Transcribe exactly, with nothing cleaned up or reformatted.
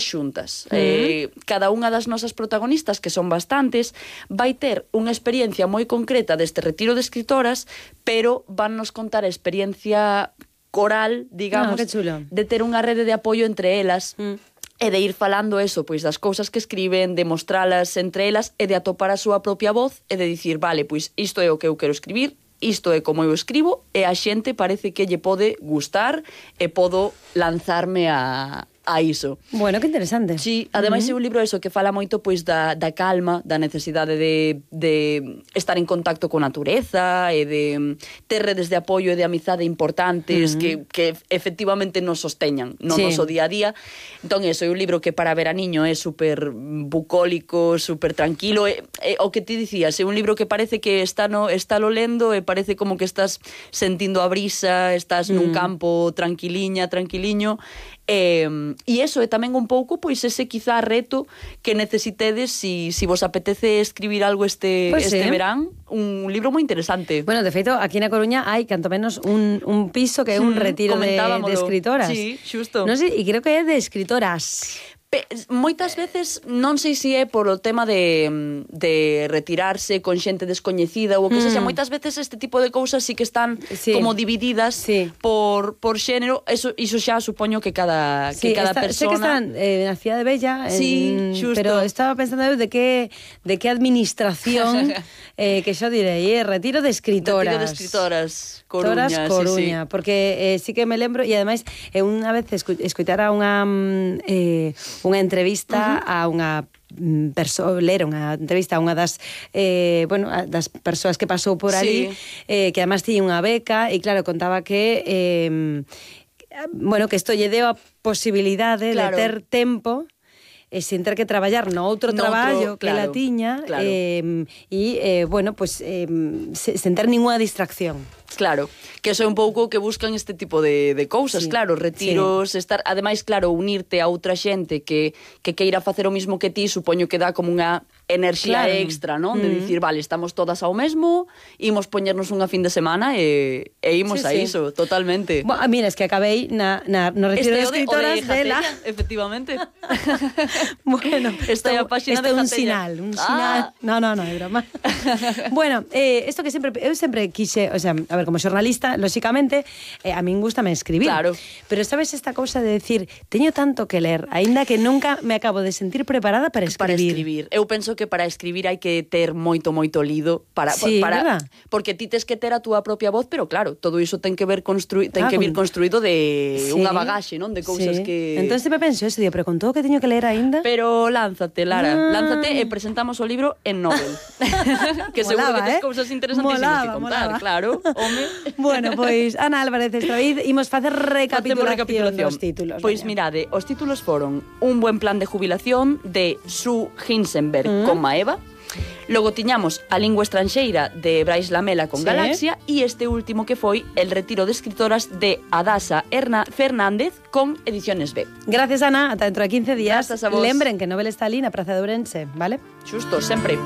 xuntas. Uh-huh. Eh, cada unha das nosas protagonistas, que son bastantes, vai ter unha experiencia moi concreta deste retiro de escritoras, pero van nos contar a experiencia coral, digamos, ah, de ter unha rede de apoio entre elas. Mm. E de ir falando eso, pois das cousas que escriben, de mostralas entre elas e de atopar a súa propia voz e de dicir, vale, pois isto é o que eu quero escribir, isto é como eu escribo e a xente parece que lle pode gustar e podo lanzarme a... a iso. Bueno, que interesante. Sí, ademais uh-huh. é un libro eso que fala moito pois da, da calma, da necesidade de, de estar en contacto con a natureza e de ter redes de apoio e de amizade importantes uh-huh. que, que efectivamente nos sosteñan no sí. noso día a día. Entón, eso é un libro que para veraniño é super bucólico, super tranquilo. É, é, o que ti dicías, é un libro que parece que está no está lo lendo e parece como que estás sentindo a brisa, estás uh-huh. nun campo tranquiliña, tranquiliño. E, e iso é tamén un pouco pois ese quizá reto que necesitedes si, si vos apetece escribir algo este, pues este sí. verán, un libro moi interesante. Bueno, de feito, aquí na Coruña hai canto menos un, un piso que é un retiro de, de escritoras. Sí, xusto. No sei, e creo que é de escritoras. Pe, moitas veces, non sei se é por o tema de, de retirarse con xente descoñecida ou o que mm. sexa, moitas veces este tipo de cousas sí que están sí. como divididas sí. por, por xénero. Eso, iso xa supoño que cada, sí, que cada está, persona... Sé que están eh, na Cidade Bella, sí, en, xusto. pero estaba pensando de que, de que administración, eh, que xa direi, eh, retiro de escritoras. Retiro de escritoras, Coruña. Toras, Coruña, sí, sí. Porque eh, sí que me lembro, e ademais, eh, unha vez escu escuitara unha... Eh, unha entrevista uh-huh. a unha persoa, ler unha entrevista a unha das eh, bueno, das persoas que pasou por ali, sí. eh, que además tiña unha beca e claro, contaba que eh, bueno, que isto lle deu a posibilidade claro. de ter tempo e sin ter que traballar no outro no traballo outro, que claro, la tiña claro. eh, e, eh, bueno, pues eh, sen ter ninguna distracción. Claro, que eso é un pouco que buscan este tipo de, de cousas, sí, claro, retiros, sí. estar, ademais, claro, unirte a outra xente que, que queira facer o mismo que ti, supoño que dá como unha enerxía claro. extra, non? De mm. dicir, vale, estamos todas ao mesmo, imos poñernos unha fin de semana e, e imos sí, a sí. iso, totalmente. Bueno, mira, es que acabei na, na, no retiro este de escritoras de, de la... Efectivamente. Bueno, esta é a páxina de Jatella. un sinal, un sinal. Ah. No, no, no, é broma. Bueno, eh, esto que sempre, eu sempre quixe, o sea, a ver, como xornalista, lóxicamente, eh, a min gustame escribir. Claro. Pero sabes esta cousa de decir, teño tanto que ler, aínda que nunca me acabo de sentir preparada para escribir. Para escribir. Eu penso que para escribir hai que ter moito, moito lido para, sí, para ¿verdad? Porque ti tes que ter a túa propia voz, pero claro, todo iso ten que ver construi, ten ah, que vir con... construído de sí. unha bagaxe, non? De cousas sí. que... Entón sempre penso eso, digo, pero con todo que teño que ler aínda. Pero lánzate, Lara, ah. lánzate e presentamos o libro en Nobel. Que seguro molaba, que tes eh? cousas interesantísimas molaba, que contar, molaba. Claro. Home. Bueno, pois Ana Álvarez Estraviz, imos facer recapitulación, recapitulación dos títulos. Pois mirade, os títulos foron Un buen plan de jubilación de Sue Hinsenberg mm. con Maeva. Logo tiñamos A lingua estranxeira de Brais Lamela con sí. Galaxia e este último que foi El retiro de escritoras de Adasa Erna Fernández con Ediciones B. Gracias, Ana, ata dentro de quince días. Grazas a vos. Lembren que Nobel está ali na Praza de Ourense, vale? Xusto, sempre.